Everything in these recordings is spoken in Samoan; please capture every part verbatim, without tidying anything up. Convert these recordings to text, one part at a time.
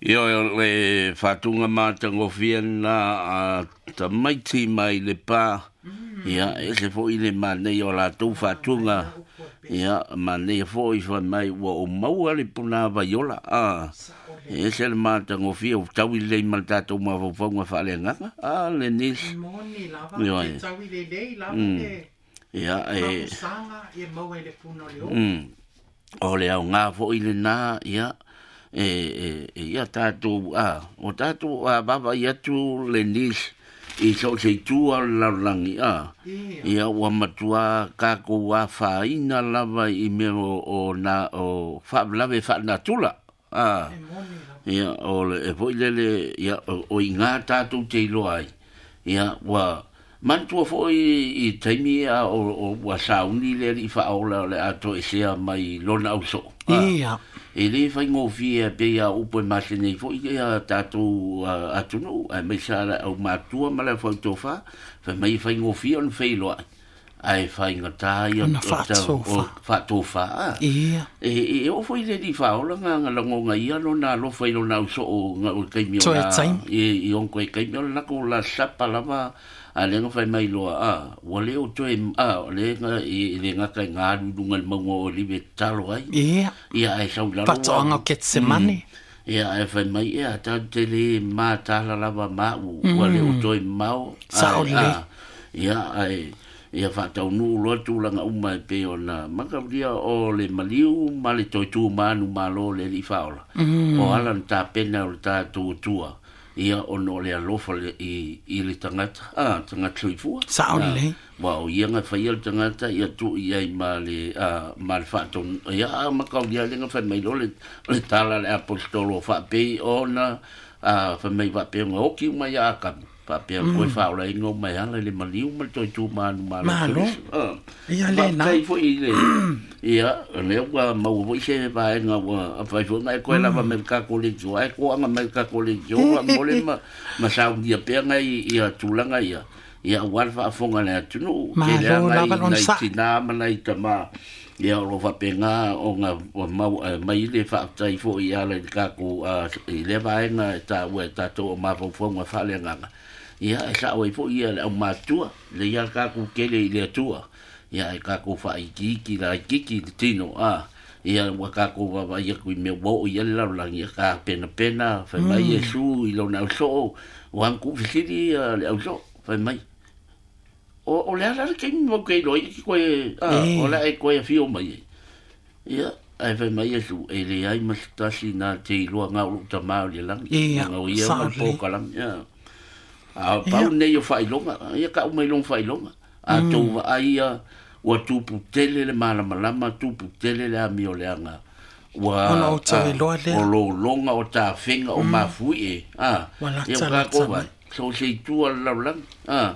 Ioe, o le faatuga matagofie lena a tamaiti mai Lepa. Ia, e ese foi le manaia o latou faatuga. Ia, manaia foi fai mai ua ou maua le puna vaiola. A, e ese le matagofie ua taui lelei ma le tatou mafaufauga faaleagaga. A, le nisi. Moni lava, Ioe. e taui lelei lava Mm. le Ia, e... mapusaga e maua i le puna o le oo. Mm. O le aoga foi lena, ia, e, e, e ia tatou, a, o tatou a vaavaai atu le nisi i so o se itu o le lalolagi, a, Ia. ia ua matua tatou afaina lava i mea o, o, na, o faalavelave faalenatura, a, E moni lava. ia, o le, e foi lele, ia, o, o iga tatou te iloa ai, ia, ua, manatua foi i taimi a o, o ua sauni le alii faaola o le a toesea mai lona ausoo. A, Ia. e lē faigofie pei a upu e masenei foi ia tatou uh, atunuu aemaise a le aumatua ma le aufautofā fai mai e faigofie ona feiloai ae faigatā ia Ona o ta- faatofa. o faatofā a. Ia. E, e oo foi le alii faaola ga ga lagoga ia lona alofa i lona ausoo ga o le taimi o Toe la taimi. i, i onko e taimi o le lako la sapa lava a le ga fai mai loa a ua le o toe a o le ga i le gata i galu i luga i le mauga o Olive e tatalo ai Ia. ia ae sau i lalo Faatoaga ua o Ketsemane. ia ae fai mai ia tatou te le matala lava maʻu ua le o toe mamao Sao ae lelei. a ia ae ia faataunuu loa tulaga uma e pei ona makaulia o le maliu ma le toe tumanu malo o le alii faaola Mm. o ala na tapena o le tatou atua ia ona o le alofa le, i, i le tagata a tagata soifua Sao a, lelei. ua o ia ga faia le tagata ia tuu i ai ma le a, ma le faatonu ia a makaulia le ga fai mai loa le, le tala a le aposetolo faapei ona a, fai mai faapea ona oki uma ia Akamu faapea mm. koe faaolaina uma e ala i le maliu ma le toe tumanu malo Malo. Keriso. A. Ia lena. Faafetai foi i le ia lea ua maua foi se vaega ua fai foi na e koe lava me le kakoleti o ae koaga mai le kakoleti o faamole ma ma saunia pea ngai ia tulaga ia ia aua le faafofoga a le atunuu Malo tele a lava nai lona nai saʻa. tinā ma nai tamā ia o lo faapegā ona ua mau eh, mai le faafetai foi i ala i le tatou a, i lea vaega e taua e tatou o mafaufauga faaleagaga ia e saʻo ai foi ia le aumatua le ia le tatou kele i le atua ia e tatou faaikiiki laikiki le tino a ia ua tatou vaavaai atu i mea ua oo i ai le lalolagi ia tapenapena fai mai Iesu i lona ausoo ua agutuufesili ia le ausoo fai mai o, o le ala le taimi mau ke iloa ai ki koe a, E. o le a e koe afio mai ai ia ae fai mai Iesu e leai ma se tasi na te iloa gao lou tamā o le lagi Ia, ga o ia sao ma le lelei. pokalame ia a pau nei o faailoga ia kaʻu mai lona faailoga a tou vaai ia ua tupu tele le malamalama tupu tele le amioleaga ua Ona o tau a, iloa lea. o lologa o tafega o mafuie a Ua ia lata ua lata tatou mai. vaai so se itu o le lalolagi a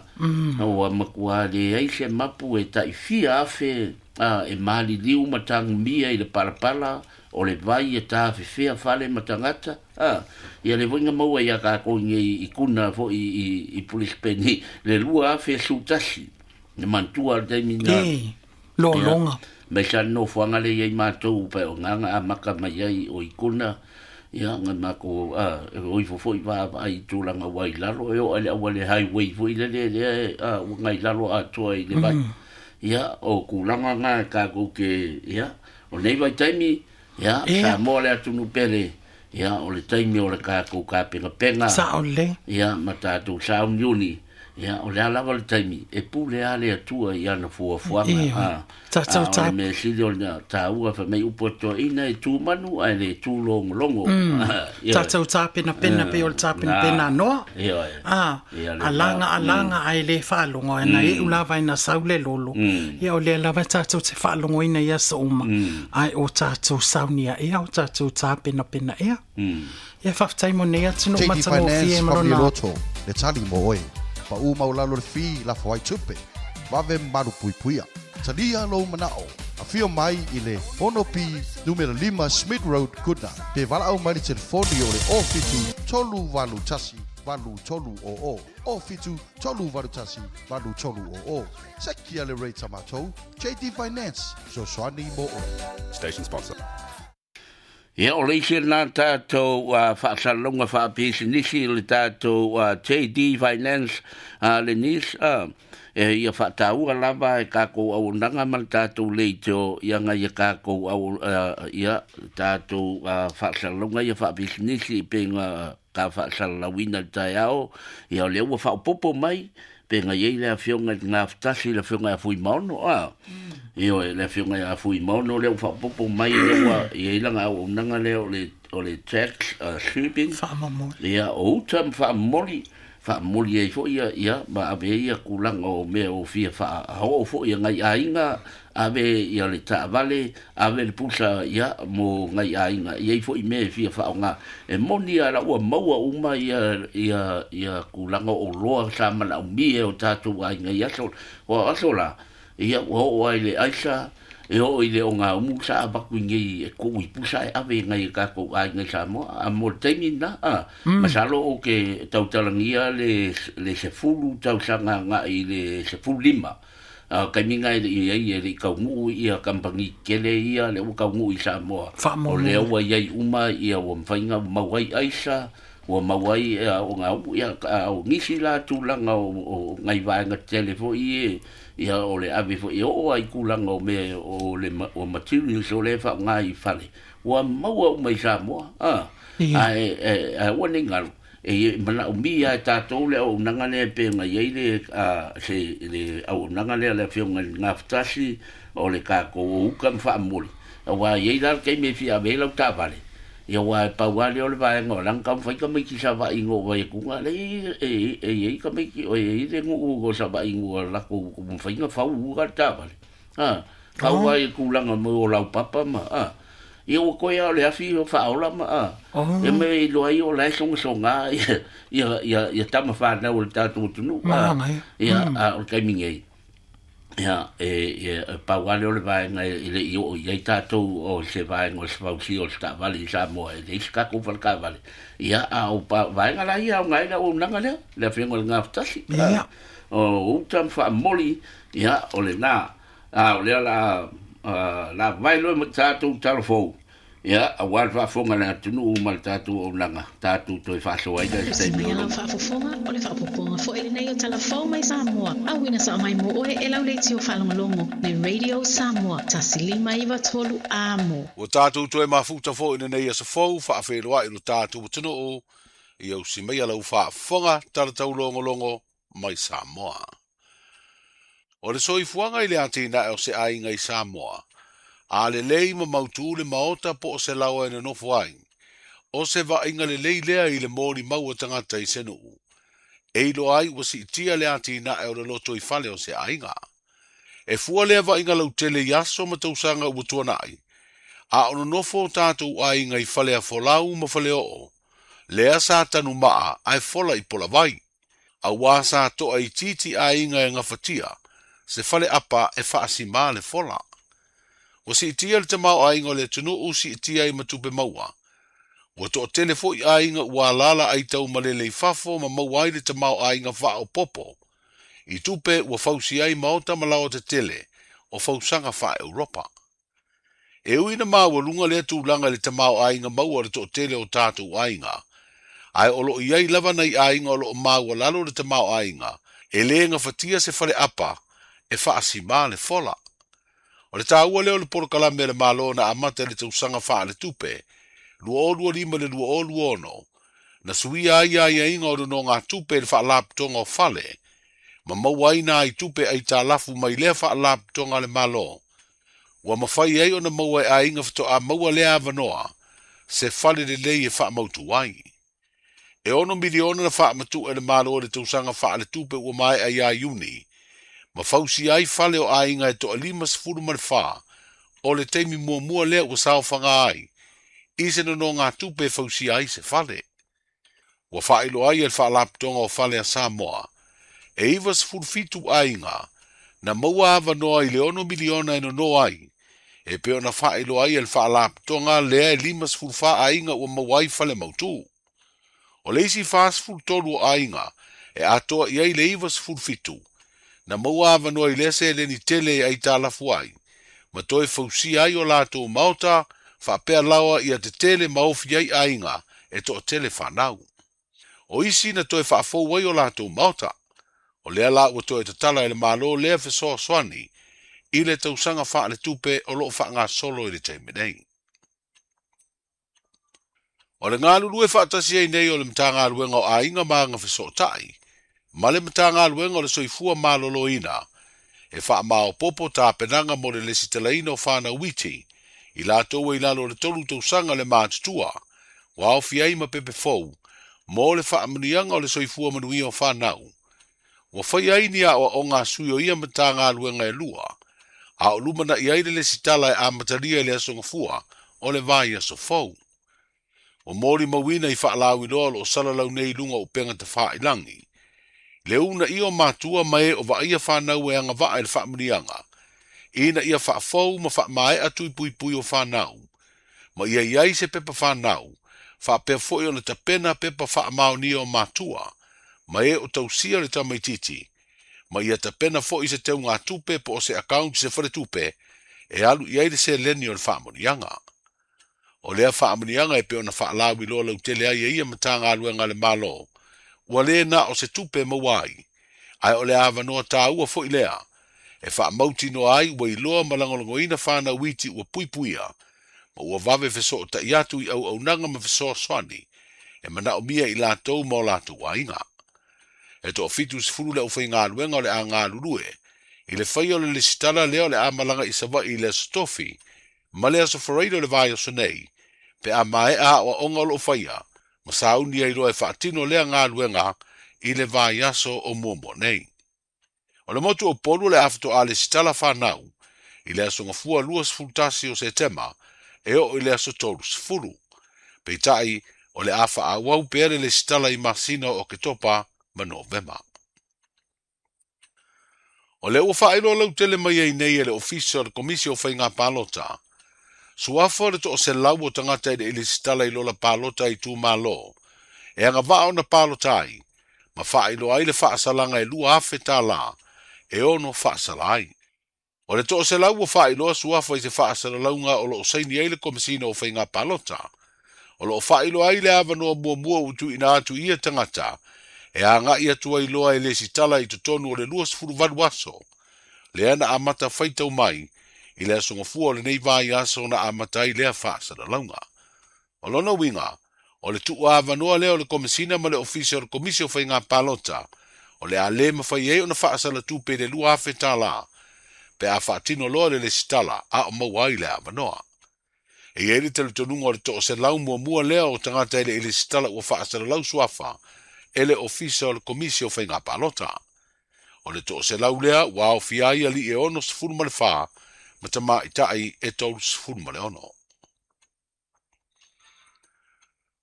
ua matua leai se mapu e taifia afe a e maliliu ma tagumia i le palapala o le vai e tafefea fale ma tagata a ia le foiga maua ia kakou nei i kuna foi i, i Brisbane le lua afe sutasi le manatua le taimi na E. Lologa. mai sa nofoaga le iai matou pae o gaga amaka mai ai o i kuna ia ga makou a e o ifo foi vaavaai i tulaga ua i lalo e oo ai le auale highway foi lele lea e, a ua gai lalo atoa i le vai ia o kulaga ga e takou ke ia o nei vaitaimi ia Ia. Samoa le atunuu pele ia o le taimi o le takou kapegapega Sao lelei. ia ma tatou sauniuni ia o le a lava le taimi e pule a le atua i ana fuafuaga Ia. a Tatou a, o le tap- mea sili o lena taua fai mai upu atoaina e tumanu ae le tulogologo Ia. Tatou tapenapena pei o le tapenapena a Noa. Ia. A, Ia, le alaga va. alaga ae le faalogo ana iu lava ina sau le lolo. Ia o lea lava tatou te faalogoina i aso uma. Ae o tatou saunia ea, o tatou tapenapena ea. Ia faafetai mo nei atunuu J D matagofie Finance ma Family lona Loto, le tali mo oe. Pa u maulalo le fi la fo ai tupe. Vave maru pui puia. Talia lou manao. Afio mai i le ono pi numera lima Smith Road, Goodna. Pe valaau mai le telefoni o le o fitu tolu valu tasi valu tolu o o. O fitu tolu valu tasi valu tolu o o. Sekia le rate a matou. J D Finance, fesoasoani mo oe. Station sponsor. Ia o le isi lena tatou uh, faasalalauga faapisinisi le tatou uh, J D Finance uh, le nis uh, e ia faataua lava e kākou auaunaga ma le tatou leitio ia ngai e kākou au uh, ia tatou uh, faasalalauga ia faapisinisi peiga ka faasalalauina le taeao ia o lea ua faaopopo mai peiga iai le afioga i le gafetasi le afioga ia Fuimaono a ia le afioga ia Fuimaono lea ua faaopopo mai lea ua iai laga auaunaga lea o le o le tax uh, shipping faamomoli ia o uta ma faamomoli faamomoli ai foi ia ia ma ave ai ia kulaga o mea o fia faaoo foi ia ngai aiga ave ia le taavale ave le pusa ia mo ngai aiga iai foi mea e fia faaaoga e moni a la ua maua uma ia ia ia kulaga o loa sa manaomia e o tatou aiga i aso o aso la ia ua oo ai le aisa e oo i le ogaumu sa avaku i nei e kou i pusa e ave ngai e kākou aiga i Samoa a mo le taimi lena a masalo o ke tautalagia le le sefulu tausaga agai i le sefululima a kaiminga e le iai e le kauguu ia kampani kele ia le ua kauguu i Samoa o lea ua iai uma ia ua mafaiga ua mau ai aisa ua mau ai ogaumu ia o nisi la tulaga o ngai vaega tetele foi e ia o le ave foi e oo ai kulaga o mea o le o materials o le faaaoga i fale ua maua uma i Samoa a ae ae ua nei galu e manaomia e tatou le auaunaga lea peiga iai le a se le auaunaga lea le afioga i le gafetasi o le kākou o uka ma faamomoli auā iai la le taimi e fia ave ai lau taavale ia ua e pau lea o le vaega o laga taumafai tamaiti savaiga o vaiatuga lea e e iai tamaiti o iai le nuu o savaiga ua latou mafaiga fau uka le taavale a fau ai kulaga mo o laupapa ma a ia ua koe a o le afi o faaola ma a ia me iloa ai o lae sogasoga ia ia ia ia tama fanau o le tatou atunuu a ia a o le taimi nei ia e e pau lea o le vaega e le i oo i ai tatou o se vaega o se fausia o le taavale i Samoa e leai se tatou faletaavale ia a o vaega la ia aoga ai le auaunaga lea le afioga i le gafetasi o uta ma faamomoli ia o lena a o lea la la vai loa ma tatou talafou ia auā le faafofoga le atunuu ma le tatou auaunaga tatou toe faasoa ai le taimi o lau faafofoga o le faaopoopoga foi lenei o Talafou mai Samoa auina sao mai mo oe e lau leitio faalogologo le Radio Samoa tasi lima iva tolu amo. Ua tatou toe mafuta foi lenei aso fou faafeiloai lo tatou atunuu ia usi mai lau faafofoga talataulogologo mai Samoa. O le soifuaga i le atinae o se aiga i Samoa, a lelei ma mautū le maota po o se laoa e nonofo ai, o se vaaiga lelei lea i le molimau a tagata i se nuu. E iloa ai ua siitia le atinae o le loto i fale o se aiga. E fua lea vaaiga lautele i aso ma tausaga ua tuanai, a o nonofo o tatou aiga i fale a folau ma fale oo, lea sa tanumaa ae fola i polavai, auā sa toa itiiti aiga e gafatia, se fale apa e faasimā le fola. Ua siitia le tamaoaiga o le atunuu siitia ai ma tupe maua. Ua toatele foi aiga ua alala ai taumalele i fafo ma maua ai le tamaoaiga faaopopo. I tupe ua fausi ai maota ma laoa tetele o fausaga faa-Europa. E ui na maualuga lea tulaga i le tamaoaiga maua o le toatele o tatou aiga. Ae o loo iai lava nai aiga o loo maualalo le tamaoaiga e lē gafatia se fale apa e faasimā le fola. O le taua lea o le polokalame le Malo na amata i le tausaga faaletupe lua o lua lima i le lua o lua ono na suia ai aiaiga o nonogatupe i le faalapotoga o fale ma maua ai nai tupe aitalafu mai lea faalapotoga a le Malo. Ua mafai ai ona maua e aiga faatoa maua lea avanoa se fale lelei e faamautu ai. E ono miliona na faamatu'u e le Malo i le tausaga faaletupe ua maea ia Iuni ma fausi ai fale o aiga e toalima sefulu ma le fā o le taimi muamua lea ua saofaga ai i se nonogatupe e fausia ai se fale. Ua faailoa ai e le faalapotoga o fale a Samoa e iva sefulu fitu aiga na maua avanoa i le ono miliona e nono ai e pei ona faailoa ai e le faalapotoga lea e lima sefulu fā aiga ua maua ai fale mautū. O le isi fasefulu tolu o aiga e atoa i ai le iva sefulu fitu na maua avanoa i lea seleni tele e aitalafu ai ma toe fausia ai o latou maota Faapea lawa ia tetele maofi ai aiga e to'atele fanau. O isi na toe faafou ai o latou maota. O lea la ua toe tatala e le Malo lea fesoasoani i le tausaga faaletupe o loo faagasolo i le taimi nei. O le galulue faatasi ai nei o le Matagaluega o Aiga ma Agafesootai ma le Matagaluega o le Soifua Maloloina e faamaopopo tapenaga mo le lesitalaina o fanau iti i latou ai lalo o le tolu tausaga le matutua ua aofia ai ma pepe fou mo le faamanuiaga o le soifua manuia o fanau. Ua fai ai ni aoaoga a sui o ia Matagaluega e lua, a o lumana'i ai le lesitala e amatalia i le aso Gafua o le vaiaso fou. Ua molimauina i faalauiloa o loo salalau nei i luga o upega tafailagi. Le uunaia o matua ma e o vaaia fanau e agavaa i le faamanuiaga, ina ia faafou ma faamaea tuipuipui o fanau, ma ia i ai se pepa fanau, faapea foi ona tapena pepa faamaonia o matua, ma e o tausia le tamaititi, ma ia tapena foi se teugatupe po o se account se faletupe, e alu i ai le seleni o le faamanuiaga. O lea faamanuiaga e pei ona faalauiloa lautele ai e ia Matagaluega a le Malo, ua lē na o se tupe maua ai, ae o le avanoa tāua foi lea, e faamautinoa ai ua iloa ma lagolagoina fanau iti ua puipuia, ma ua vave fesootai atu i auaunaga ma fesoasoani, e manaomia i latou ma o latou aiga. E toafitu sefulu le aufaigaluega o le a galulue, i le faia o le lesitala lea o le a malaga i Savaii i le aso Tofi, ma le aso Faraile o le vaiaso nei, pe a maea aoaoga o loo faia, ma sauni ai loa e faatino lea galuega i le vaiaso o muamua nei. O le motu o Upolu o le a faatoa lesitala fanau, i le aso Gafua luasefulu tasi o Setema, e oo i le aso tolu sefulu. Peitai, o le a faaauau pea le lesitala i masina o Oketopa ma Novema. O lea ua faailoa lautele mai ai nei e le Ofisa o le Komisi o Faiga Palota. Suafa o le toaselau o tagata i le lesitala i lola palota i itumalo, e agavaa ona palota ai, ma faailoa ai le faasalaga e lua afe tālā, e ono faasala ai. O le toaselau ua faailoa suafa i se faasalalauga o loo saini ai le Komesina o Faiga Palota. O loo faailoa ai le avanoa muamua ua tuuina atu i ia tagata, e agai atu ai loa e lesitala i totonu o le luasefulu valu aso. Lea na amata faitau mai, i le aso Gafua o lenei vaiaso na amata ai lea faasalalauga. O lona uiga, o le tuuavanoa lea o le Komesina ma le Ofisa o le Komisi o Faiga Palota, o le a lē mafai ai ona faasalatupe i le lua afe tālā, pe a faatino loa le lesitala a o maua ai le avanoa. E i ai le talitonuga o le toaselau muamua lea o tagata i le lesitala ua faasalalau suafa e le Ofisa o le Komisi o Faiga Palota. O le toaselau lea ua aofia ai alii e ono sefulu ma le fa, ma tamaitai e tolu sefulu ma le ono.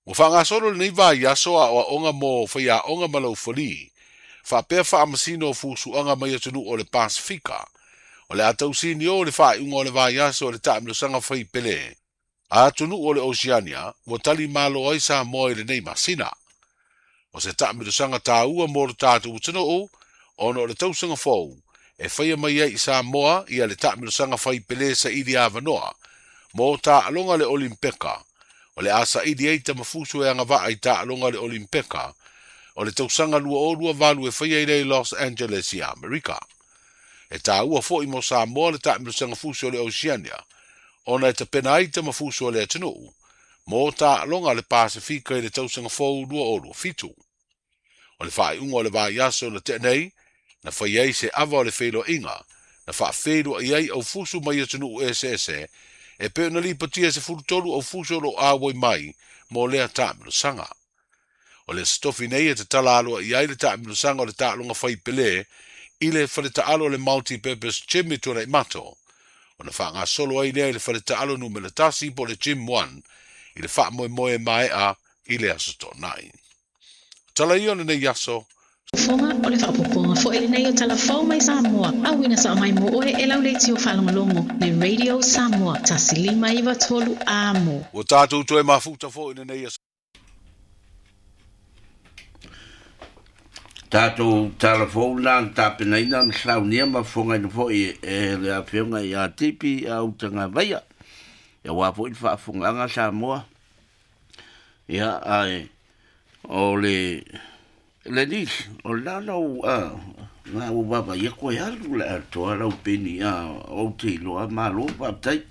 Ua faagasolo lenei vaiaso aoaoga mo faiaoga ma laufalī, faapea faamasino o fusuaga mai atunuu o le Pasifika, o le a tausini o le faaiuga o le vaiaso o le taamilosaga faipelē, a atunuu o le Oceania ua tali malo ai Samoa i lenei masina. O se taamilosaga tāua mo le tatou atunuu, ona o le tausaga fou, e faia mai ai i Samoa ia le taamilosaga faipelē saili avanoa, mo taaloga le Olimpeka, o le a saili ai tamafusu e agavaa i taaloga le Olimpeka, o le tausaga lua o lua valu e faia i lea i Los Angeles i Amerika. E tāua foi mo Samoa le taamilosaga fusu o le Oceania, ona e tapena ai tamafusu o le atunuu, mo taaloga le Pasifika i le tausaga fou lua o lua fitu. O le faaiuga o le vaiaso na tea nei, na fai ai se ava o le feiloaiga, na faafeiloai ai aufusu mai atunuu eseese, e pei ona lipotia sefulu tolu aufusu o loo auai mai mo lea taamilosaga. O le aso Tofi nei e tatala aloa i ai le taamilosaga o le taaloga faipelē i le faletaalo o le Multi-Purpose Gym i Tuanaimato, ona faagasolo ai lea i le faletaalo numera tasi po o le Gym one i le faamoemoe maea i le aso Toonai. Tala ia o lenei aso. Fofoga o le faaopoopoga foi lenei o Talafou mai Samoa, auina sao mai mo oe e lau leitio faalogologo le Radio Samoa tasi lima iva tolu amo. Ua tatou toe mafuta foi lenei aso. Tatou talafou la na tapenaina ma saunia ma fofogaina foi e le afioga ia Tipi a Utagavaia. Ia wā foi le faafofogaaga Samoa. Ia ae o le le nisi o le lau a ngā ua vava ia koe alu le atoa lau peni a o te iloa malo faafetai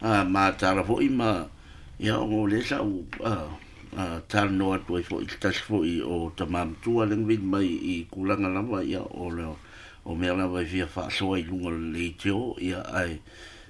a matala foi ma ia o le sa u a talanoa atu ai foi se tasi foi o tamamatua le gavili mai i tulaga lava ia o le o mea lava e fia faasoa i luga o le leitio ia ae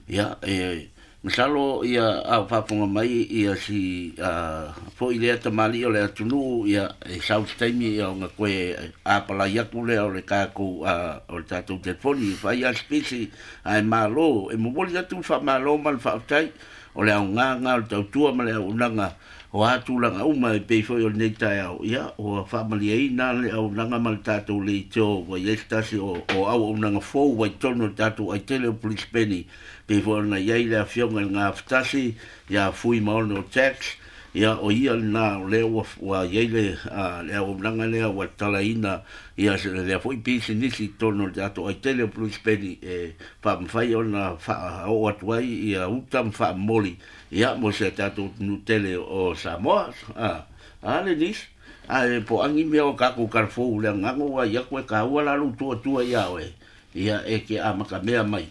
ia e masalo ia a faafofoga mai ia si a foi lea tamalii o le atunuu ia e sau se taimi ia ona koe apalai atu lea o le tatou a o le tatou telefoni e fai a sipisi ae malo e momoli atu le faamalo ma le faafetai o le aogaga o le tautua ma le auaunaga o a tulaga uma e pei foi o lenei taeao ia ua faamalieina le auaunaga ma le tatou leitio ua iai se tasi o, o auaunaga fou ua i totonu o le tatou aitele o Brisbane pei foi ona iai le afioga i le gafatasi ia Fuimaono Tax ia o ia lena o lea ua, ua iai le, a, le auaunaga lea ua talaina ia lea foi pisinisi i totonu o le tatou aitele o Brisbane e faamafai ona faaoo atu ai ia uta ma faamomoli ia mo se tatou atunuu tele o Samoa. A, a le nisi ae po agi mea o kākou kalafou le agaga ua ia koe kāua la lou tuatua ia oe ia e ke amatamea mai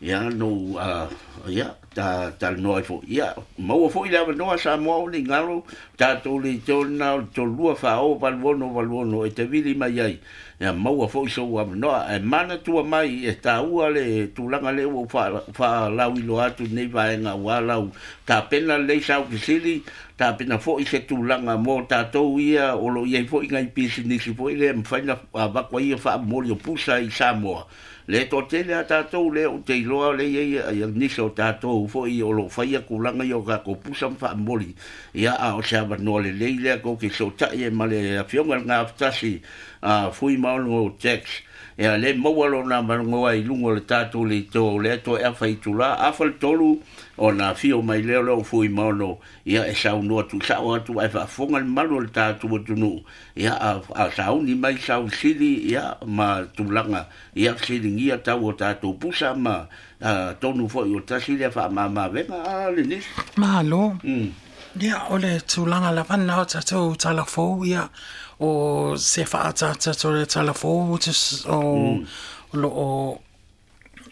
ia no a ia ta talanoa ai foi ia maua foi le avanoa Samoa o le galo tatou leitio lena o le tolua faaoo valu ono valu ono e te vili mai ai ia maua foi sou avanoa ae manatua mai e taua le tulaga lea ua faalauiloa atu lenei vaega aua lau tapena lelei sau fesili tapena foi se tulaga mo tatou ia o loo iai foi nai pisinisi foi lea e mafai ona avatu ai ia faamomoli o pusa i Samoa. Le toatele a tatou lea ou te iloa le iai ia nisi o tatou foi o loo faia tulaga ia o tatou pusa ma faamomoli ia a o se avanoa lelei lea tou te fesootai ai ma le afioga i le gafatasi a Fuimaono Tax ia le maua lona avanoa i luga o le tatou leitio lea toe afa i itulā afa le tolu ona afio mai lea o lea o Fuimaono ia e saunoa tuusao atu ae faafofoga le mamalu o le tatou atunuu ia a, a sauni mai sausili ia ma tulaga ia fesiligia tau o tatou pusa ma a, tonu foi o tasi lea faamamavega a le nisi. Malo. Mm. Ia, o le tulaga lava lena o tatou talafou, ia, o se faaataata o le talafou o, Mm. o loo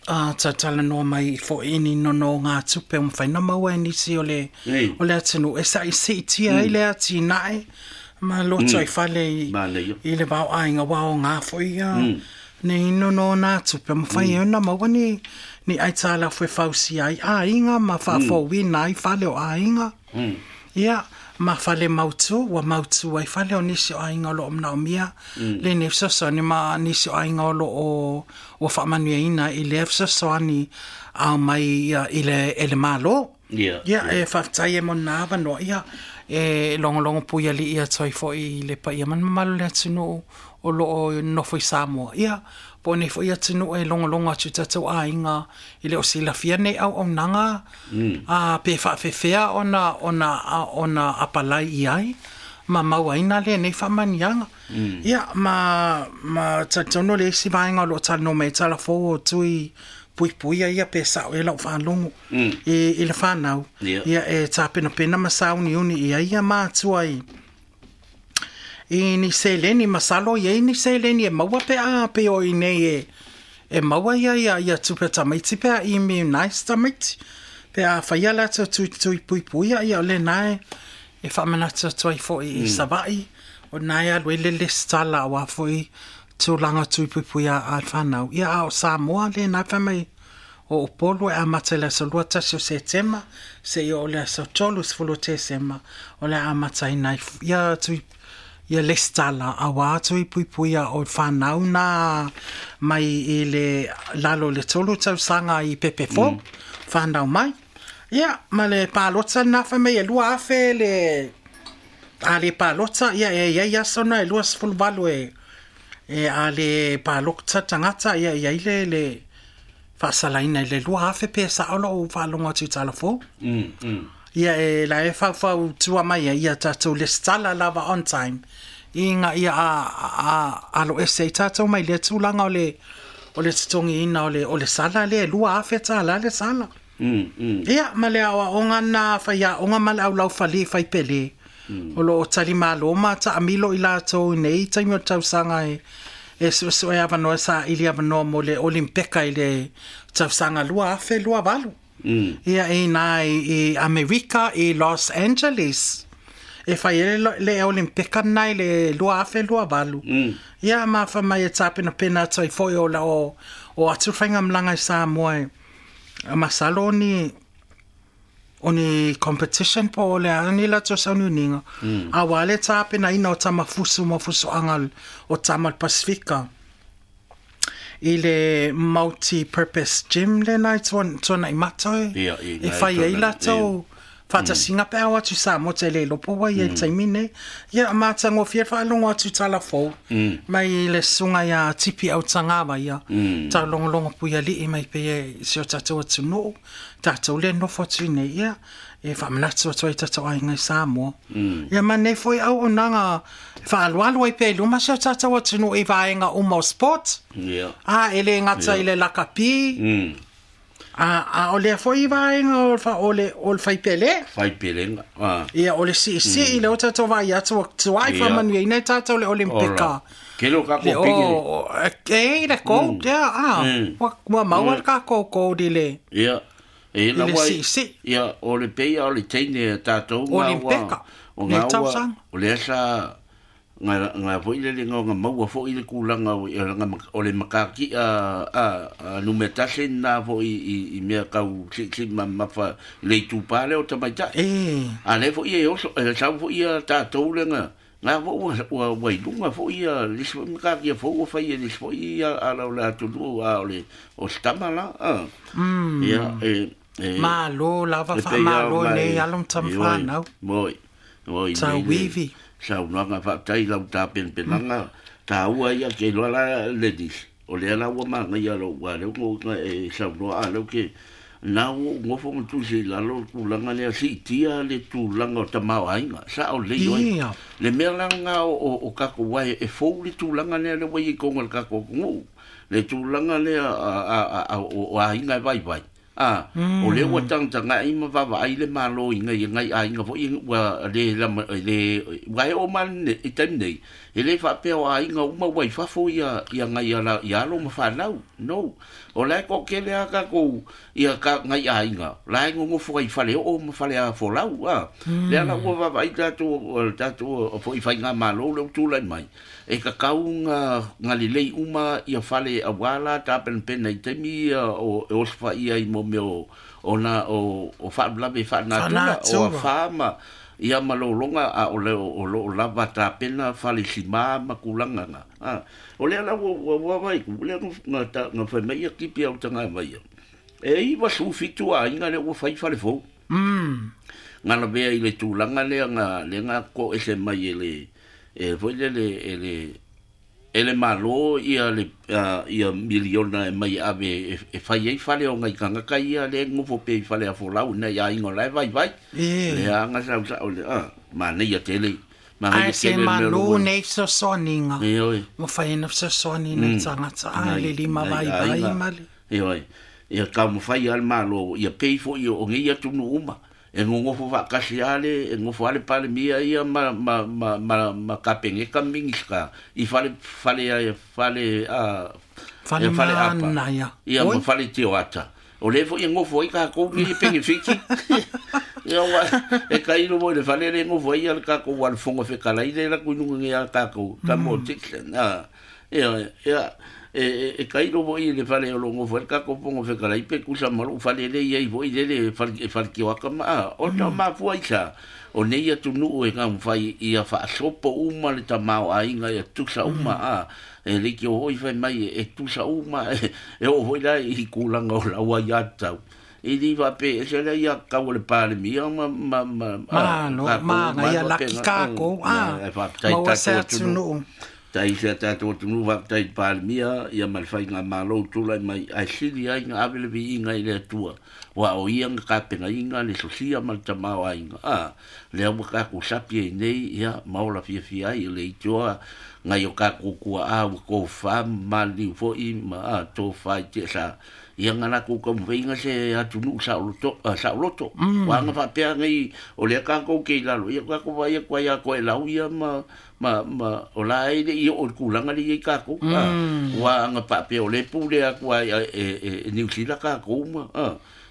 a tatalanoa mai foi i ni nonogā tupe o mafai ona maua e nisi o le Ei. o le atunuu e saisiitia ai Mm. le atinae ma loto ai Mm. fale i, Manaia. i le vaoaiga ua aogā foi ia Mm. ni nonogā tupe o mafai Mm. ai ona maua ni ni aitalafu e fausia ai aiga ma Mm. faafouina ai fale o aiga. Mm. Ia, ma fale mautu, ua mautu ai fale o nisi o aiga o loo manaomia Mm. lenei fesoasoani ma nisi o aiga o loo ua faamanuiaina i lea fesoasoani ao mai ia, i le, e le malo. Ia. Ia, Ia. e faafetai e mo lena avanoa, ia, e logologo pui alii atu ai foi i le paia ma le mamalu o le atunuu o loo nofo i Samoa. Ia, po o nei foi atunuu e logologo atu i tatou aiga i le o silafia nei auaunaga Mm. a pe faafefea ona ona a- ona apalai i ai ma mauaina lenei faamaniaga. Mm. Ia, ma ma talitonu le isi vaega o loo talanoa mai ai talafou o tui puipuia ia pe sao e lau faalogo Mm. i, i le whanau. Ia. Ia e tapenapena ma sauniuni ia ia mātua i i ni seleni masalo ia i ni seleni e maua pe a pe o i nei e e maua ia ia ia tupe tamaiti pe a i mi nice tamaiti pe a whaia latou tui tui pui pui ia o le nae e whaamanatu atu ai foi i Mm. Savaii o nae alu e lele stala o a foi tulaga tui pui pui a, a whanau. Ia a o Samoa le nae wha mai o Upolu e amata i le aso lua tasi o Setema se i o le aso tolu sefulu o Tesema o le amata i nai ia tui ia lesitala auā tui puipuia o whanau nā mai i le lalo le tolu tausaga i Pepefo Mm. whanau mai. Ia, ma le palota nā wha mai e lua afe le a le palota ia e ia ia sona e lua sefulu valu e e a le palota tangata ia ia i le le faasalaina i le lua afe pe sao loo faalogo atu i talafou. Mm. Mm. Ia e la e faufau tua mai ai ia tatou lesitala lava on time i ngā ia a, a, a alo ese i tatou mai le tulaga o le o le totogiina o le o le sala le lua afe tālā le sala. Mm, mm. Ia, ma le aoaoga na faiaoga ma le aulaufali faipelē mm. O loo talimālō ma taamilo i latou i nei taimi o le tausaga e e suesue avanoa saili avanoa mo le Olimpeka i le tausaga lua afe lua valu. Mm. Ia i nā i, i Amerika i Los Angeles. E fai ele le Olimpeka nai le lua afe lua valu. Mm. Ia ma fa mai e tapenapena atu ai foi o la o, o atu faigamalaga i Samoa e masalo o ni o ni competition po o le a ni latou sauniuniga mm. Auā le tapenaina o tamafusu ma fusoaga o tama le Pasifika i le multi-purpose gym lena i tuanaʻi mata e Ia, i e fai ai latou faatasiga pe ao atu Samoa te le lopo ua ia i taimi nei. Ia matagofie faalogo atu talafou mai le susuga iā Tipi Autagava ia taulogologo puialii mai pei e si o tatou atunuu tatou le nofo atu i nei ia e faamanatu atu ai tatou aiga i Samoa. Ia ma nei foi auaunaga faaloalo ai pea i luma si o tatou atunuu i vaega uma o sport. Ia. A e lē gata i le lakapi Mm. a a o lea foi vaega o le fa- o le o le faipelē Faipelega. Ah. ia o le siisii le o tatou vaai atu ua tuai Ia. faamanuiaina i tatou le Olimpika Ora. Ke lo ka le ko pigi. o e le gold ia a Mm. ua ua maua le kākou gold i le Ia. E la I le wai. siisii. Ia o le peia o le teine a tātou ngā ua. Olimpeka. O Nei ngā ua. tausaga. O le asa ngā ngā foi le le ngā maua foi le kūlanga o o ngā o le makaki a a a numetase nā foi i i mea kau si si ma mafa le tupale o tamaitai. e A le foi e oso e sau foi ia tātou le ngā ngā fo ua ua ua i lunga foi ia lisi foi makaki a fo ua fai e lisi foi ia a lau le atunu a o le o stama la. A. Mm. Ia e e Malo lava e pei faamalo au mai- nei alo ma tamafanau Moi. Moi. Tauivi. Saunoaga faafetai lau tapenapenaga taua ia ke iloa la ladies. O lea la ua magaia lou ua lea ua e saunoa a leu ke na ua ou gofo ma tusi i lalo le tulaga lea siitia le tulaga o tamaoaiga sao lelei oe Ia. le mea laga o, o, o kakou ai e fou le tulaga lea le ua i koga le kakou atunuu le tulaga lea a, a, a, a, o, o aiga e vaivai a mm. O lea ua tagatagai ma vavaai le malo i ngai ngai aiga foi ua le lama le ua e o ma le i taimi nei e le faapea o aiga uma ua i fafo ia ia ngai ala ia alo ma fanau no o la e koʻokele a kakou ia ka ngai aiga la e gogofo ai fale oo ma fale a folau a mm. Lea la ua vavaai tatou o tatou foi faigamālō le utulai mai e kakau ga ga lelei uma ia fale auā la tapenapena i taimi ia o e osofaia i mo mea o ona o o faalavelave faanatura o Faanatura. afā ma ia ma lologa a o le o loo lava tapena fale simā ma kulaga ga a o lea la ua ua ua vai ku lea ga ta ga fai mai ia kipi au taga mai ia e iva su fitu aiga le ua fai fale fou mm ga lavea i le tulaga lea ga le ga ko ese mai e le e foi le le e le e le malo ia le uh, ia miliona e mai ave e, e fai ai fale o ngai kangaka ia le ngofo pe i fale a folau na ia ingo lai vai vai E. le anga sau sa o le a ma nei ia tele ma Ai nei se tele me malo lo nei fesoasoaniga e oi ma fai ena fesoasoani nei tagata a le lima Nai vaivai aiga. ma le E oi ia ka mo fai al malo ia pei fo ia o ngai atunu uma e ngongofo faakasi ale e ngofo ale palemia ia ma ma ma ma, ma kapengeka mingiska i fale fale a fale a Fale e fale apa. mana ia. Ia ma Oi. fale tioata o le fo ia ngofo ai kākou ki penge fiki ia wa e kailo mo le fale le ngofo ai le kākou wa le fonga fekalai le la kuinunga nge a kākou ka mo tiksen a ia ia e e e kailo mo i le fale o lo ngofo ai kākou fonga fekalai pe kusa malu fale le ia i fo i le le fale e fale kiwaka ma a o ta mafua i sa o nei atunuu e gaumafai ia faasopo uma le tamaoaiga ia tusa uma a e le ki o hoi fai mai e tusa uma e e oo foi la i kulaga o laua ia tatau e li faapea e se lea ia kau o le palemia ma ma ma Malo, maga ia laki kākou, a, faafetai maua se tatou atunuu atunuu. tai se tatou atunuu faafetai i palemia ia ma le faigamālō tulai mai ae sili ai ga ave le viiga i le Atua ua o ia ga kapenaiga le sosia ma le tamaoaiga a lea ua kakou sapi ai nei ia ma ola fiafia ai le itoa ngai o kakou kuaʻā ua kofā ma maliliu foʻi ma a tofā i teʻasa Ia nga la ku ka mfeinga se atunu sa loto sa loto wa nga fa pea ngai o le ka ko ke lalo ia ka ko vai ko ia ko e lau ia ma ma ma o la e le ia o kulanga le ia ka ko wa nga pa pe o le pu le aku ai e New Zealand ka ko ma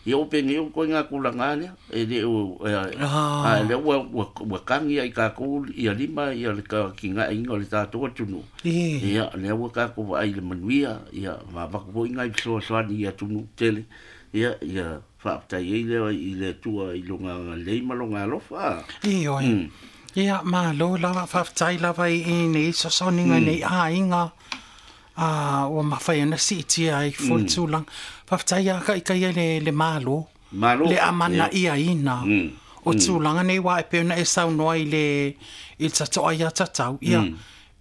ia o penge o ko nga kulanga le e le o a le wa wa kangi ai ka ko ia lima ia le ka kinga inga le tatou atunu ia le wa ka ko ai le manuia ia ma va ko inga i so so ni atunu tele ia ia fa ta i le i le tua i longa le malonga alofa io ia ma lo lava fa tai lava i ni so so ni nei a inga a o mafai ana si'itia ai foi tulaga faafetai a kaʻikaia le le malo le amana ia ina o tulaga nei ua e pei ona e saunoa i le i le tato'a ia tatau ia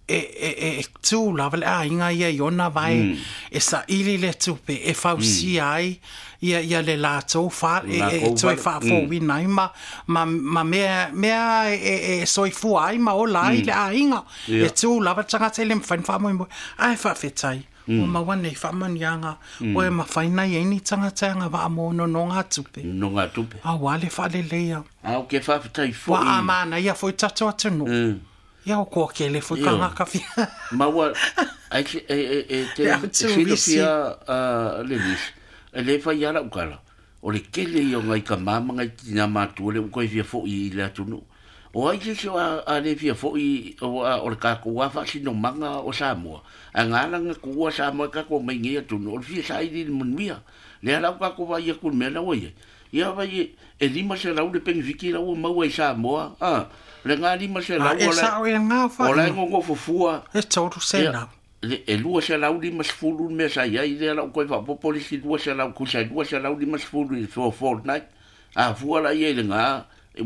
e e e tū lava le aiga ia i ona vae e saʻili le tupe e fausia ai ia ia le latou fa e e toe faafouina ai ma ma ma mea mea e e soifua ai ma ola ai le aiga e tū lava le tagata e le mafai ona faamoemoe ae faafetai ua maua nei faamanuiaga ua e mafai na iai ni tagata e agava'a mo nonogatupe nonogatupe auā le faaleleia a o ke faafetai foʻi ua amanaia foi tatou atunuu ia o koa ke le foi kangaka fia. Ma ua ai e e e te silafia le lisi e le fai ala ukala o le kele i o ngai ka mama ngai tina matua le uko e fia foʻi i le atunuu o ai se o a le fia foʻi o o le kākou a faasinomaga o Samoa a ngā kuua Samoa kākou mai nei atunuu o le fia saili le manuia le ala o kākou vai aku le mea lau ai ia vai e lima se lau le penifiki lau maua i Samoa a le ngā lima se lau o le o la ngongo fufua e tolu se lau e lua se lau lima sefulu le mea sa iai lea lau koe faapopo le isi lua se lau kusa lua se lau lima sefulu i le fortnight a fua la ia i le ngā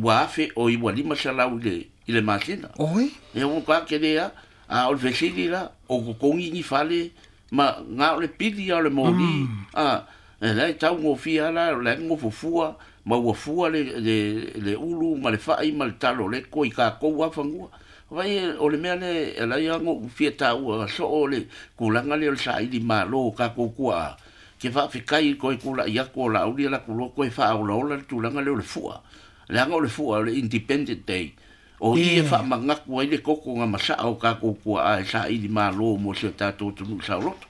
ua afe o i ua lima se lau i le i le masina oi e o ka ke lea a o le fesili la o kokogi ni fale ma ngā o le pili o le moli a e lai tau ngofia la o le ngofufua ma ua fua le le le ulu ma le fa'i ma le talo le ko i kākou afagua vai o le mea le e lai ago fia taua soo le kulaga le o le saʻili mālō kākou kuaʻa ke faafekai koe kulaʻi aku o laʻauli la kuloa koe faaolaola le tulaga le o le fuʻa leaga o le fuʻa o le Independent Day o i e faamagaku ai le kokoga masaʻa o kākou kuaʻa e saʻili mālō mo se o tatou atunuu saoloto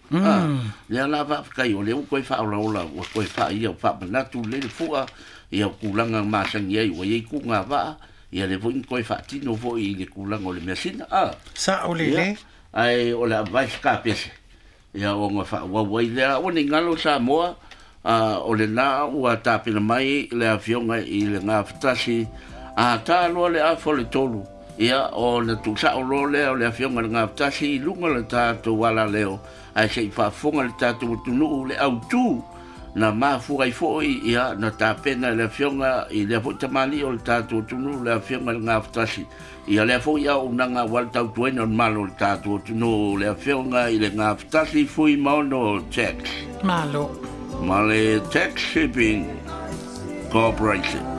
lea la faafekai o lea ua koe faaolaola ua koe faaia o faamanatu le le fuʻa ia o kulaga masagi ai ua iai kuga va'a ia le foʻi koe faatino foʻi i le kulaga o le measina a saʻo lelei ae o le advice kapese ia oga faauau ai lea ua nei galo Samoa a o lenā ua tapena mai le afioga i le gafatasi a tāloa le afa o le tolu ia o le tuusaʻo loa lea o le afioga i le gafatasi i luga le tatou alaleo ae seʻi faafofoga le tatou atunuu le autū na mafua ai foʻi ia na tapena le afioga i lea foʻi tamalii o le tatou atunuu le afioga i le gafatasi ia lea foʻi auaunaga ua le tautuaina o le malo o le tatou atunuu le afioga i le gafatasi Fuimaono Tax malo ma le Tax Shipping Corporation.